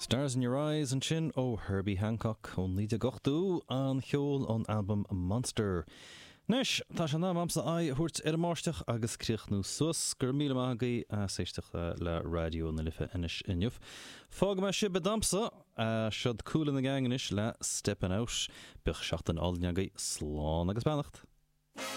Stars in Your Eyes ansin ó Herbie Hancock ó 1980, an ceol ón albam Monster. Anois, tá sé in am a'msa aghaidh a thabhairt ar an mbáisteach agus críochnú suas. Go raibh míle maith agaibh as éisteacht le Raidió na Life anois inniu. Fágfaidh mé sibh i dtamsa. Siod Kool and the Gang anois le Steppin' Out. Bíodh seachtain álainn agaibh. Slán agus beannacht.